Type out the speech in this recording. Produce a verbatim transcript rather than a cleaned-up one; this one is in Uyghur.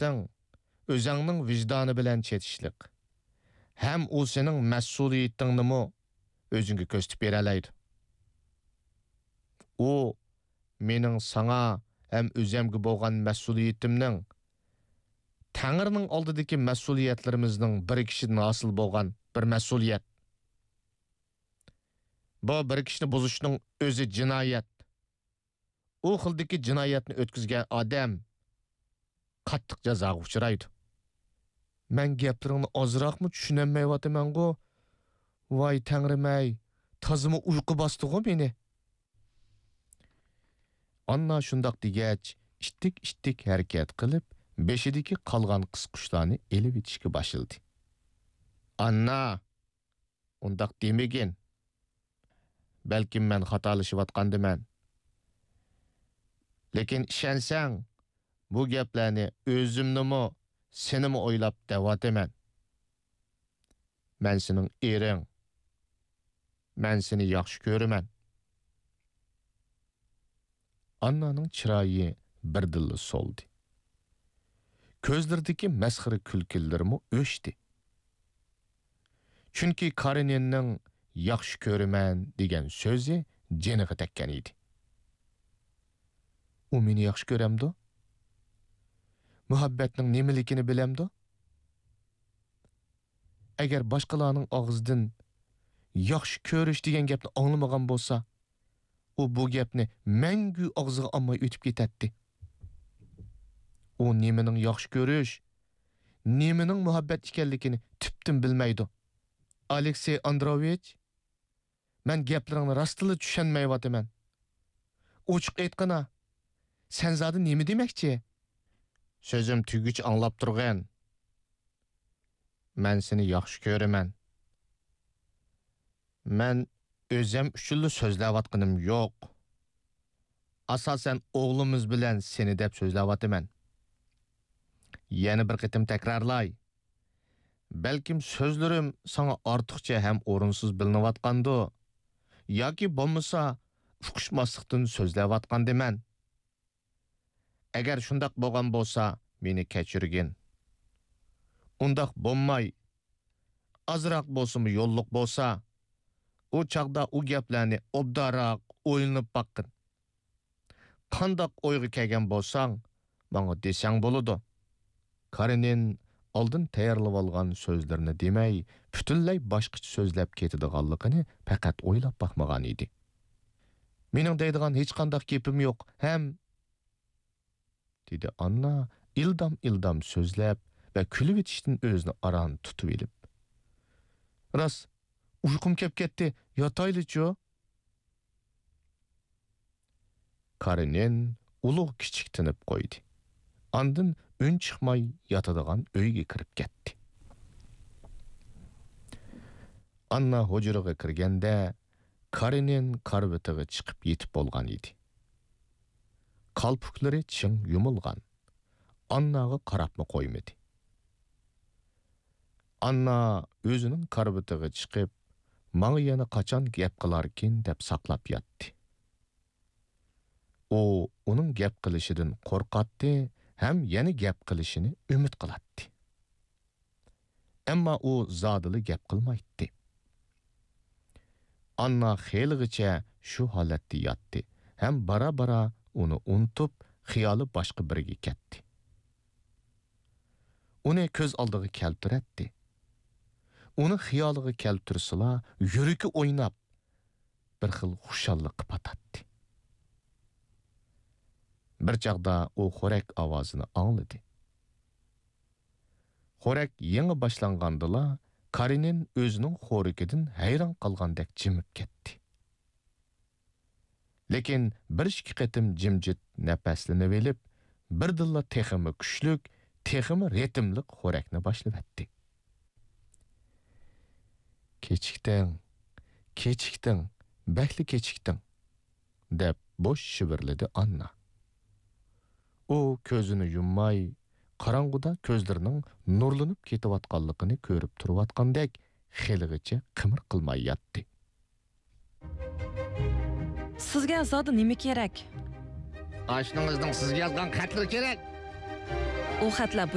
مەسلىھەتىڭ ئۆزەڭنىڭ ۋىجدانى بىلەن چېتىشلىق. ھەم ئۇ سېنىڭ مەسئۇلىيىتىڭنىمۇ ئۆزۈڭگە كۆرسىتىپ بېرەلەيدۇ. ئۇ مېنىڭ ساڭا ھەم ئۆزەمگە بولغان مەسئۇلىيىتىمنىڭ، تەڭرىنىڭ ئالدىدىكى مەسئۇلىيەتلىرىمىزنىڭ بىرىكىشىدىن ھاسىل بولغان بىر مەسئۇلىيەت. بۇ بىرىكىشنى بۇزۇشنىڭ ئۆزى جىنايەت. ئۇ خىلدىكى جىنايەتنى ئۆتكۈزگەن ئادەم قاتتىق جازاغا ئۇچرايدۇ. مەن گەپلىرىڭنى ئازراقمۇ چۈشىنەلمەيۋاتىمەنغۇ؟ ۋاي تەڭرىم-ئەي، تازىمۇ ئۇيقۇ باستىغۇ مېنى. ئاننا شۇنداق دېگەچ، ئىتتىك-ئىتتىك ھەرىكەت قىلىپ، بېشىدىكى قالغان قىسقۇچلارنى ئېلىۋېتىشكە باشلىدى. ئاننا! ئۇنداق دېمىگىن. بەلكىم مەن خاتالىشىۋاتقاندىمەن. لېكىن ئىشەنسەڭ، بۇ گەپلەرنى ئۆزۈمنىمۇ، سېنىمۇ ئويلاپ دەۋاتىمەن. مەن سېنىڭ ئېرىڭ. مەن سېنى ياخشى كۆرىمەن. ئاننانىڭ چىرايى بىردىنلا سولدى. كۆزلىرىدىكى مەسخىرە كۈلكىلىرىمۇ ئۆچتى. چۈنكى كارېنىننىڭ «ياخشى كۆرىمەن» دېگەن سۆزى جېنىغا تەگكەن ئىدى. ئۇ مېنى ياخشى كۆرەمدۇ؟ مۇھەببەتنىڭ نېمىلىكىنى بىلەمدۇ؟ ئەگەر باشقىلارنىڭ ئاغزىدىن «ياخشى كۆرۈش» دېگەن گەپنى ئاڭلىمىغان بولسا، ئۇ بۇ گەپنى مەڭگۈ ئاغزىغا ئالماي ئۆتۈپ كېتەتتى. ئۇ نېمىنىڭ ياخشى كۆرۈش، نېمىنىڭ مۇھەببەت ئىكەنلىكىنى تۈپتىن بىلمەيدۇ. ئالېكسېي ئاندروۋىچ، مەن گەپلىرىڭنى راستتىنلا چۈشەنمەيۋاتىمەن. ئوچۇق ئېيتقىنا، سەن زادى نېمە دېمەكچى؟ سۆزۈم تۈگىگۈچە ئاڭلاپ تۇرغىن. مەن سېنى ياخشى كۆرىمەن. مەن ئۆزۈم ئۈچۈنلا سۆزلەۋاتقىنىم يوق. ئاساسەن ئوغلىمىز بىلەن سېنى دەپ سۆزلەۋاتىمەن. يەنە بىر قېتىم تەكرارلاي. بەلكىم سۆزلىرىم ساڭا ئارتۇقچە ھەم ئورۇنسىز بىلىنىۋاتقاندۇ؟ ياكى بولمىسا ئۇقۇشماسلىقتىن سۆزلەۋاتقاندىمەن؟ ئەگەر شۇنداق بولغان بولسا، مېنى كەچۈرگىن. ئۇنداق بولماي، ئازراق بولسىمۇ يوللۇق بولسا، ئۇ چاغدا ئۇ گەپلەرنى ئوبدانراق ئويلىنىپ باققىن. قانداق ئويغا كەلگەن بولساڭ، ماڭا دېسەڭ بولىدۇ. كارېنىن ئالدىن تەييارلىۋالغان سۆزلىرىنى دېمەي، پۈتۈنلەي باشقىچە سۆزلەپ كېتىدىغانلىقىنى پەقەت ئويلاپ باقمىغان ئىدى. مېنىڭ دەيدىغان ھېچقانداق گېپىم يوق ھەم، دېدى ئاننا ئىلدام-ئىلدام سۆزلەپ ۋە كۈلۈۋېتىشتىن ئۆزىنى ئاران تۇتۇۋېلىپ. راست، ئۇيقۇم كەپ كەتتى، ياتايلىچۇ؟ كارېنىن ئۇلۇغ كىچىك تىنىپ قويدى. ئاندىن ئۈن چىقماي ياتىدىغان ئۆيگە كىرىپ كەتتى. ئاننا ھۇجرىغا كىرگەندە، كارېنىن كارىۋىتىغا چىقىپ يېتىپ بولغان ئىدى. قالپۇكلىرى چىڭ يۇمۇلغان. ئانناغا قاراپمۇ قويمىدى. ئاننا ئۆزىنىڭ كارىۋىتىغا چىقىپ، ماڭا يەنە قاچان گەپ قىلاركىن دەپ ساقلاپ ياتتى. ئۇ ئۇنىڭ گەپ قىلىشىدىن قورقاتتى ھەم يەنە گەپ قىلىشىنى ئۈمىد قىلاتتى. ئەمما ئۇ زادىلا گەپ قىلمايتتى. ئاننا خېلىغىچە شۇ ھالەتتە ياتتى ھەم بارا-بارا ئۇنى ئۇنتۇپ، خىيالى باشقا بىرىگە كەتتى. ئۇنى كۆز ئالدىغا كەلتۈرەتتى. ئۇنى خىيالىغا كەلتۈرسىلا، يۈرىكى ئويناپ، بىر خىل خۇشاللىققا پاتاتتى. بىر چاغدا ئۇ خورەك ئاۋازىنى ئاڭلىدى. خورەك يېڭى باشلانغاندىلا، كارېنىن ئۆزىنىڭ خورىكىدىن ھەيران قالغاندەك جىمىپ كەتتى. لېكىن بىر ئىككى قېتىم جىمجىت نەپەسلىنىۋېلىپ، بىردىنلا تېخىمۇ كۈچلۈك، تېخىمۇ رىتىملىق خورەكنى باشلىۋەتتى. «كېچىكتىڭ، كېچىكتىڭ، بەكلا كېچىكتىڭ» دەپ بوش شىۋىرلىدى ئاننا. ئۇ كۆزىنى يۇمماي، قاراڭغۇدا كۆزلىرىنىڭ نۇرلىنىپ كېتىۋاتقانلىقىنى كۆرۈپ تۇرۇۋاتقاندەك خېلىغىچە قىمىر قىلماي ياتتى. سىزگە زادى نېمە كېرەك؟ ئاشنىڭىزنىڭ سىزگە يازغان خەتلىرى كېرەك. ئۇ خەتلەر